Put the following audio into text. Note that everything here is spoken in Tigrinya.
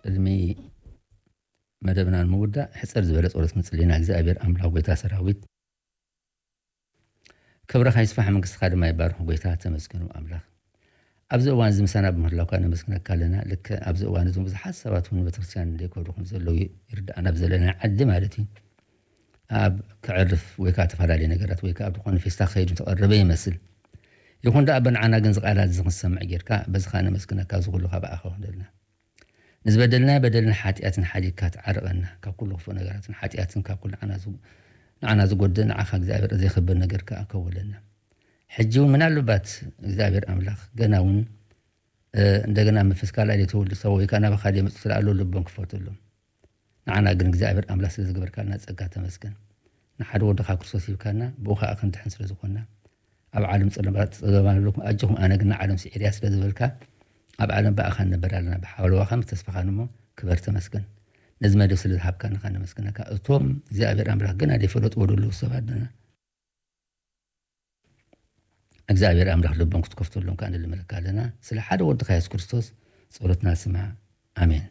ቅድሚ መደብና ንምውዳእ ሕፅር ዝበለ ፀሎት ክንፅሊ ኢና። እግዚኣብሔር ኣምላኽ ጎይታ ሰራዊት፣ ክብርኻ ይስፋሕ፣ መንግስትኻ ድማ ይባርኽ። ጎይታ ተመስገኑ ኣምላኽ። ኣብዚ እዋን እዚ ምሳና ብምህላውካ ነመስግነካ ኣለና። ልክዕ ኣብዚ እዋን እዚ ብዙሓት ሰባት እውን ቤተክርስትያን ዘይከዱ ከም ዘለዉ ይርዳእና፣ ኣብ ዘለና ዓዲ ማለት እዩ። ኣብ ክዕርፍ ወይ ከዓ ተፈላለየ ነገራት ወይ ከዓ ዝኾነ ፌስታ ክኸይድ ተቐረበ ይመስል። ይኹን ደኣ በንዓና ግን ዝቃላት እዚ ክንሰምዕ ጌርካ በዚ ከዓ ነመስግነካ። እዚ ኩሉ ካብ ኣኻ ይኹን ደልና። ንዝበደልናዮ በደልን ሓጢኣትን ሓዲግካ ትዓርቐና። ካብ ኩሉ ክፉእ ነገራትን ሓጢኣትን ካብ ኩሉ ንዓና ዝ-፣ ንዓና ዝጎድእ ንዓኻ እግዚኣብሔር ዘይኸብር ነገር ከዓ ከውለና። ሕጂ እውን ምናልባት እግዚኣብሔር ኣምላኽ ገና እውን፣ እ፣ እንደገና መንፈስ ካልኣይ ዘይተወልዱ ሰብ ወይ ከዓ ናባኻ ዘይመጹ ስለ ኣለዉ ልቦም ክፈተሎም። ንዓና ግን እግዚኣብሔር ኣምላኽ ስለ ዝገበርካልና ጸጋ ተመስገን። ንሓደ ወድኻ ክርስቶስ ሂብካና፣ ብኡ ኸኣ ክንድሕን ስለ ዝኾንና፣ ኣብ ዓለም ጸለማ-፣ ጸገም ኣለኩም፣ ኣጆኹም ኣነ ግን ንዓለም ስዒረያ ስለ ዝበልካ፣ ኣብ ዓለም ብኣኻ ንነብር ኣለና፣ ብሓለዋኻን ብተስፋኻን እሞ ክበር ተመስገን። ነዚ መደብ ስለ ዝሃብካና ኸኣ ነመስግነካ። እቶም እግዚኣብሔር ኣምላኽ ገና ዘይፈለጥዎ ዘለዉ ሰባት ደና እግዚኣብሔር ኣምላኽ ልቦም ክትከፍተሎም ከኣ ንልምነካ ኣለና። ስለ ሓደ ወድኻ የሱስ ክርስቶስ ጸሎትና ስማዕ። ኣሜን።